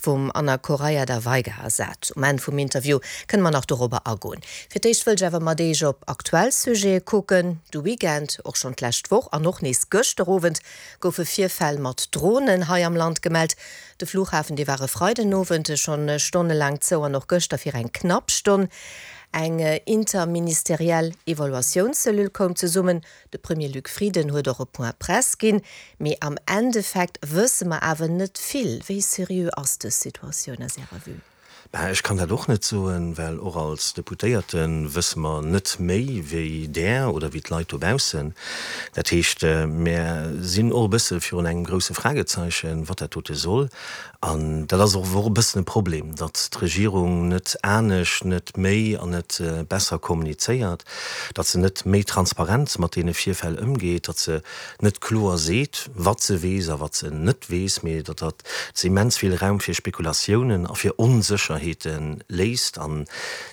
Vum Ana Correia da Veiga ersat. Um Enn vum Interview kënne mer nach dorobber agoen. Fir d'éischt wëll ech awer mat Eech op aktuell Sujete kucken. De Weekend, och schonn d'lescht Woch an och nees gëschter Owend goufe Virfäll mat Dronen hei am Land gemellt. De Flughafen, dee war e Freidenowend schonn stonnelaang zou an och gëschter fir eng knapp Stonn. Eng interministeriell Evaluatiounscellule koum zesummen. De Premier Luc Frieden huet och e Point presse ginn. Mee am Endeffekt wësse mer awer net vill. Wéi seriö ass dës Situatioun aus Ärer Vue? Ben, ech kann dat och net soen, well och als Deputéierte wësse mer net méi wéi Der oder wéi d'Leit dobaussen. Dat heescht, mär sinn och e bësse virun engem grousse Fragezeichen, wat dat dote soll. An dat ass och e bëssen e Problem, datt d'Regierung net anescht, net méi an net besser kommunizéiert, datt se net méi transparent mat deene Virfäll ëmgeet, datt se net kloer seet, wat se weess a wat se net weess, mee datt dat se immens vill Raum fir Spekulatiounen a fir Onsécherheete léisst. An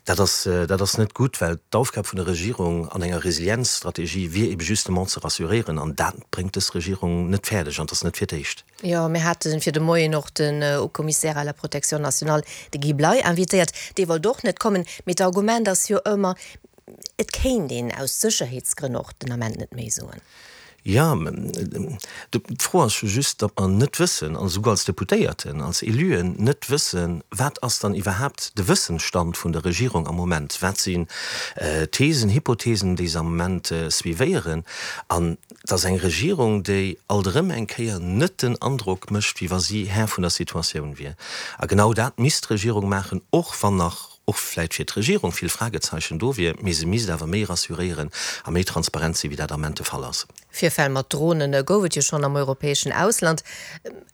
dat ass, dat ass net gutt, well d'Aufgab vun der Regierung an enger Resilienzstrategie wier ebe justement ze rassuréieren. An dat bréngt dës Regierung net fäerdeg, an et ass net fir d'éischt. Jo, mir hate fir de Moien och den Haut-Commissaire à la protection nationale, de Guy Bley, invitéiert. Dee wollt och net kommen. Mee d'Argument ass jo ëmmer, Et kéint een aus Sécherheetsgrënn och den Ament net méi soen. Jo, d'Fro ass jo just, datt mer net wëssen, an esouguer als Deputéierten, als Éluen net wëssen, wat ass dann iwwerhaapt de Wëssensstand vun der Regierung am Moment, wat sinn Thesen, Hypothesen, déi se am Moment suivéieren. An et ass eng Regierung, déi alt erëm eng Kéier net den Androck mécht, wéi wa si Här vun der Situatioun wier. A genau dat misst d'Regierung maachen, och wann nach och vläit fir d'Regierung vill Fragezeichen do wier, mee se misst awer méi rassuréieren a méi transparent sinn, wéi dat am Ament de Fall ass. Virfäll mat Dronen gouf et jo schonn am europäeschen Ausland.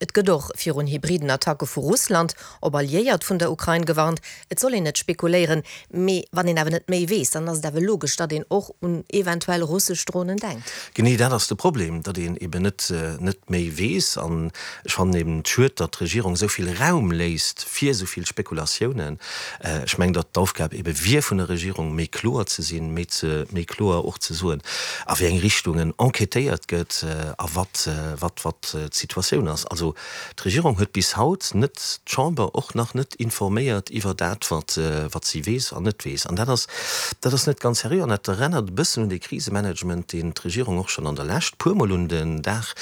Et gëtt och virun hybriden Attacke vu Russland op Alliéiert vun der Ukrain gewarnt. Et soll een net spekuléieren, mee wann een awer net méi weess, dann ass et awer logesch, datt een och un eventuell russesch Dronen denkt. Genee dat ass de Problem, datt een eben net net méi weess. An ech fannen eben et schued, datt d'Regierung esou vill Raum léisst fir esou vill Spekulatiounen. Ech mengen, datt d'Aufgab ebe wier vun der Regierung, méi kloer ze sinn, méi ze, méi kloer och ze soen, a wéi eng Richtungen enquêtéiert gëtt a wat, wat, wat d'Situatioun ass. Also d'Regierung huet bis haut net d'Chamber och nach net informéiert iwwer dat, wat, wat si weess an net weess. An dat ass, dat ass net ganz seriö an dat erennert e bëssen un dee Krisemanagement, deen d'Regierung och schonn an der Lescht puermol un den Dag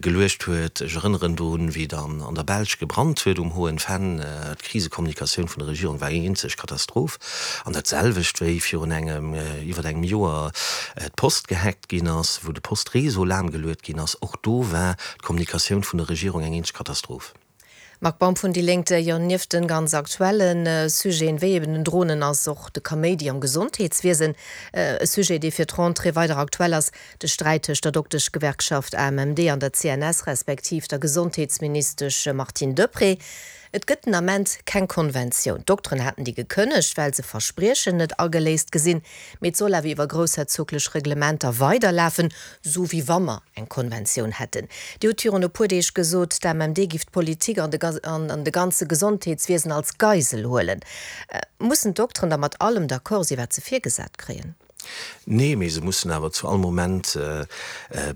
geluecht huet. Ech erënneren drun, wéi dann an der Belsch gebrannt huet um Hohen Venn. D'Krisekommunikatioun vun der Regierung war eng eenzeg Katastroph. An dat selwecht wéi virun engem, iwwert engem Joer d'Post gehackt ginn ass, wou de Postreseau lahmgeluet ginn ass. Och do war d'Kommunikatioun vun der Regierung eng eenzeg Katastroph. Marc Baum vun déi Lénk, Jo, nieft de ganz aktuelle Sujeten, wéi eben den Dronen, ass och de Kaméidi am Gesondheetswiesen e Sujet, dee fir d'Rentrée weider aktuell ass. De Sträit tëscht der Dokteschgewerkschaft AMMD an der CNS, respektiv der Gesondheetsministesch Martine Deprez. Et gëtt den Ament keng Konventioun. D'Dokteren haten déi gekënnegt, well se Verspriechen net ageléist gesinn. Mee et soll awer iwwer groussherzoglech Reglementer weiderlafen, sou wéi wa mer eng Konventioun hätten. Dir hutt virun e puer Deeg gesot, d'AMMD giff d'Politik an de ganze Gesondheetswiesen als Geisel huelen. Mussen d'Dokteren da mat allem d'accord sinn, wat se virgesat kréien? Nee, mee se mussen awer zu all Moment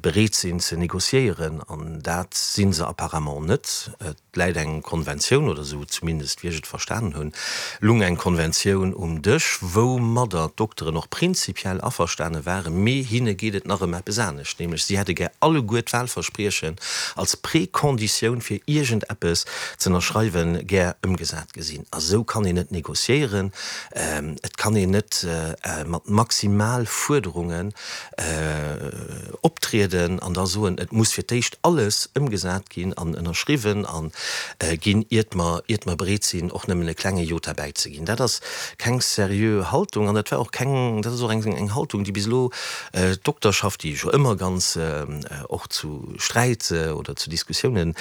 bereet sinn ze négociéieren, an dat si se apparemment net. Et läit eng Konventioun, oder esou zumindest wéi ech et verstanen hunn, lung eng Konventioun um Dësch, woumadder d'Dokteren och prinzipiell averstane waren, mee hinne geet et nach ëm eppes anescht, nämlech si hätte gär alleguer d'Wahlverspriechen als Préconditioun fir iergendeppes z'ënnerschreiwen gär ëmgesat gesinn. A sou kann een net négociéieren. Et kann een net mat maximal Fuerderungen optrieden an da soen, et muss fir d'éischt alles ëmgesat ginn an ënnerschriwwen a ginn, iert mer, iert mer bereet sinn, och nëmmen e klenge Jota bäizeginn. Dat ass keng seriö Haltung an dat war och keng, dat ass och eng Haltung, déi bis elo d'Dokterschaft, déi jo ëmmer ganz och zu Sträit oder zu Diskussiounen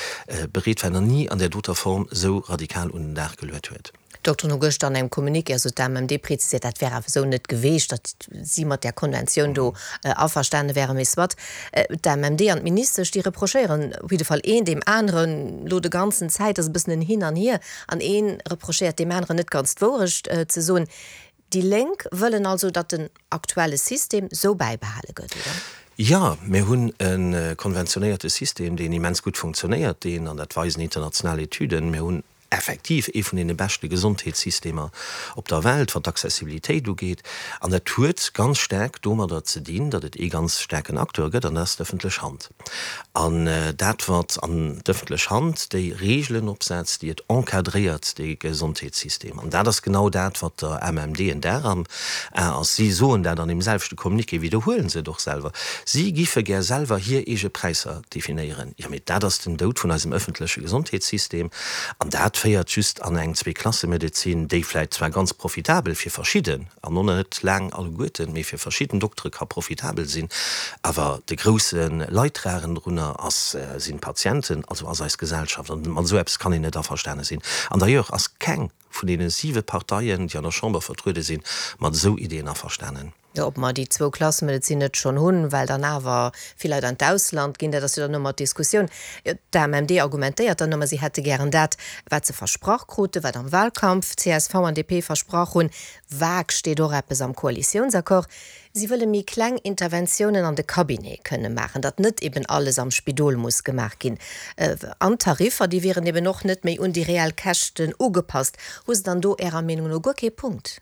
bereet war, nach ni an där doter Form esou radikal un den Dag geluet huet. D'Dokteren hu gëschter an engem Communiqué, also d'AMMD, preziséiert, dat wär awer esou net geweecht, datt si mat där Konventioun do averstane wären. Mee soit, d'AMMD an d'Ministesch, déi reprochéieren op jidde Fall een deem aneren elo de ganzen Zäit, ass e bëssen en Hin an Hier, an ee reprochéiert deem aneren net ganz d'Wourecht ze soen. Déi Lénk wëllen also, datt den aktuelle System sou bäibehale gëtt, oder? Jo, mir hunn e konventionéierte System, deen immens gutt funktionéiert, deen, an dat weisen international Etüden, mir hunn. effektiv ee vun deene beschte Gesondheetssystemer op der Welt, wat d'Accessibilitéit ugeet. An dat huet ganz staark domadder ze dinn, datt et ee ganz staarken Acteur gëtt, an dat ass d'ëffentlech Hand. An dat wat an d'ëffentlech Hand déi Reegelen opsetzt, déi et encadréiert, dee Gesondheetssystem. An dat ass genau dat, wat der AMMD en Dar am A ass. Si soen dat an deem selwechte Communiqué, widderhuele se et och selwer, si giffe gär selwer hir eege Präisser definéieren. Jo, mee dat ass den Doud vun eisem ëffentleche Gesondheetssystem. An dat féiert just an eng Zweeklassemedezin, déi vläicht zwar ganz profitabel fir verschidden, an och net laang alleguerten, mee fir verschidden Doktere ka profitabel sinn, awer de grousse Leidtragenden drunner ass, sinn d'Patienten, also ass eis Gesellschaft. An mat esou eppes kann een net averstane sinn. An d'ailleurs ass keng vun deene siwe Parteien, déi an der Chamber vertruede sinn, mat esou Ideeën averstanen. Jo, ob mer déi Zwou-Klasse-Medezin net schonn hunn, well dann awer vill Leit an d'Ausland ginn, dat ass jo dann ëmmer d'Diskussioun. Jo, d'AMMD argumentéiert dann ëmmer, si hätte gären dat, wat se versprach kruten, wat am Wahlkampf csv an DP versprach hunn. Vag steet och eppes am Koalitiounsaccord. Si wëlle méi kleng Interventiounen an de Cabinet kënne maachen, datt net eben alles am Spidol muss gemaach ginn. An d'Tariffer, déi wieren eben och net méi un déi reell Käschten ugepasst. Hu se dann do Ärer Meenung no guer kee Punkt?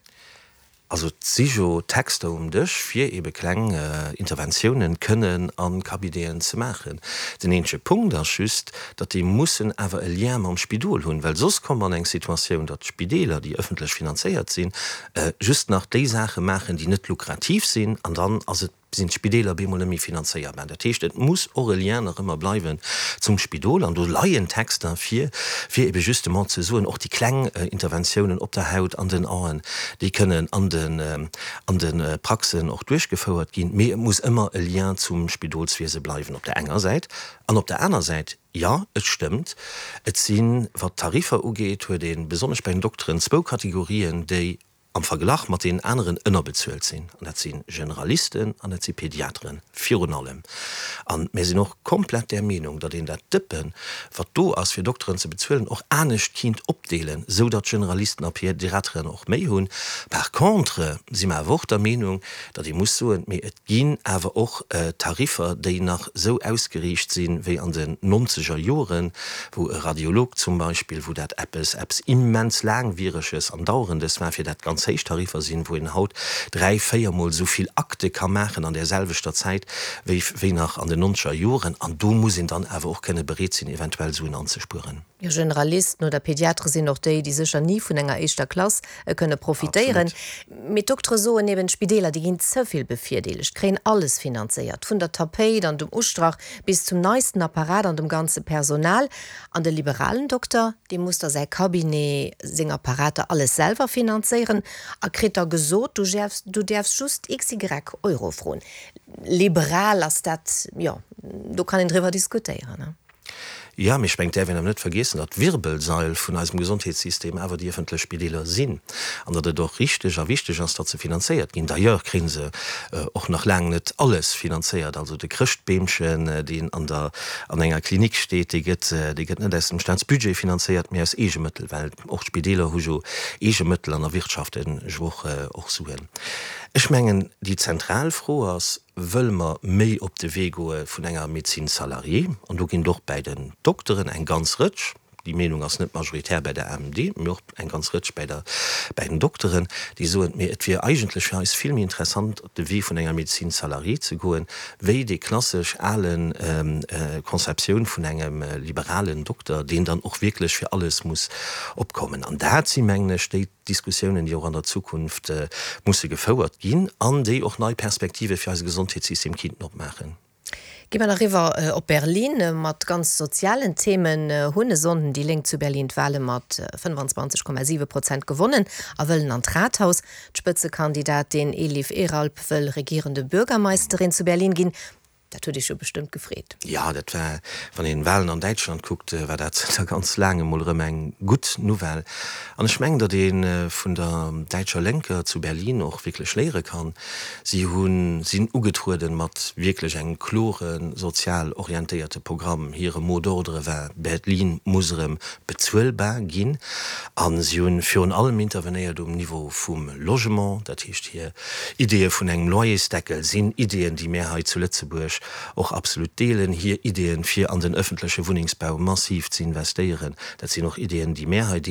Also et si jo Texter um Dësch, fir ebe kleng Interventiounen kënnen a Cabineten ze maachen. Den eenzege Punkt ass just, datt déi mussen awer e Lien mam Spidol hunn, well soss komme mer an eng Situatioun, datt d'Spideeler, déi ëffentlech finanzéiert sinn, just nach déi Saache maachen, déi net lukrativ sinn, an dann ass et sinn d'Spideeler bemol net méi finanzéierbar. Dat heescht, et muss och e Lien nach ëmmer bleiwen zum Spidol. An do leien Texter vir, fir ebe justement ze soen, och déi kleng Interventiounen op der Haut, an den Aen, déi kënnen an den, an de Praxen och duerchgefouert ginn. Mee et muss ëmmer e Lien zum Spidolswiese bleiwen op der enger Säit. An op der aner Säit, jo, et stëmmt, et sinn, wat d'Tariffer ugeet, huet ee besonnesch bei den Dokteren zwou Kategorien, déi am Verglach mat deenen aneren ënnerbezuelt sinn, an dat si Generalisten an dat si Pediateren virun allem. A mir sinn och komplett där Meenung, datt een dat Dëppen, wat do ass fir Dokteren ze bezuelen, och anescht kinnt opdeelen, esou datt Generalisten a Pediateren och méi hunn. Par contre si mer awer och der Meenung, datt ee muss soen, mee et ginn awer och Tariffer, déi nach esou ausgeriicht sinn, wéi an den nonzeger Joren, wou e Radiolog zum Beispill, wou dat eppes, eppes immens Laangwiereges an Dauerndes war, fir dat ganz héich Tariffer sinn, wou een haut dräi-, véiermol esou vill Akte ka maachen an där selwechter Zäit wéi, wéi nach an den nonzeger Joren. An do muss een dann awer och kënne bereet sinn, eventuell Suen anzespueren. Jo, Generalisten oder Pediatere sinn och déi, déi sécher ni vun enger éischter Klass kënne profitéieren. Mee d'Doktere soen eben, d'Spideeler, déi ginn ze vill bevirdeelegt, kréien alles finanzéiert, vun der Tapéit an dem Ustrach bis zum neisten Apparat an dem ganze Personal. An de liberalen Dokter, dee muss da säi Cabinet, seng Apparater, alles selwer finanzéieren a kritt da gesot, du du däerfs just XY Euro froen. Liberal ass dat, jo, do kann een driwwer diskutéieren. Jo, mee ech mengen, et däerf een awer net vergiessen, datt d'Wirbelsail vun eisem Gesondheetssystem awer déi ëffentlech Spideeler sinn an datt et och richteg a wichteg ass, datt se finanzéiert ginn. D'ailleurs kréie se och nach laang net alles finanzéiert. Also de Chrëschtbeemchen, deen an der, an enger Klinik steet, dee gëtt, dee gëtt net aus dem Staatsbudget finanzéiert, mee aus Eegemëttel, well och d'Spideeler hu jo Eegemëttel an erwirtschaften jo och, och Suen. Ech mengen, déi zentral Fro ass, Wëlle mer méi op de Wee goe vun enger Médecine salariée, an do ginn et och bäi den Dokteren eng ganz Rëtsch, déi Meenung ass net majoritär bäi der AMMD, mee och eng ganz Rëtsch bäi der, bäi den Dokteren, déi soen, mee et wier eigentlech fir eis vill méi interessant, op de Wee vun enger Médecine salariée ze goen, wéi déi klassesch ale Conceptioun vun engem liberalen Dokter, deen dann och wierklech fir alles muss opkommen. An dat si mengen ech déi. Diskussiounen, déi och an der Zukunft musse gefouert ginn an déi och nei Perspektive fir eise Gesondheetssystem kinnten opmaachen. Gi mer nach eriwwer op Berlin. Mat ganz sozialen Themen hunn e Sonnden déi Lénk zu Berlin d'Wale mat 25,7 Prozent gewonnen a wëllen an d'Rathaus. D'Spëtzekandidatin Elif Eralp wëll regierende Bürgermeisterin zu Berlin ginn. Dat huet Iech jo bestëmmt gefreet. Jo, dat war, wann een Wahlen an Däitschland kuckt, war dat zënter ganz laangem mol erëm eng gutt Nouvelle. An ech mengen, datt ee vun der däitscher Lénker zu Berlin och wierklech léiere kann. Si hu sinn ugetrueden mat wierklech engem klore sozial orientéierte Programm. Hire Mot d'ordre war, Berlin muss erëm bezuelbar ginn. A si hu virun allem intervenéiert um Niveau vum Logement, dat heescht hir Ideeë vun engem Loyersdeckel sinn Ideeën, déi mär hei zu Lëtzebuerg. ech och absolut deelen. Hir Ideeën, fir an den ëffentleche Wunnengsbau massiv ze investéieren, dat sinn och Ideeën, déi mär hei deelen.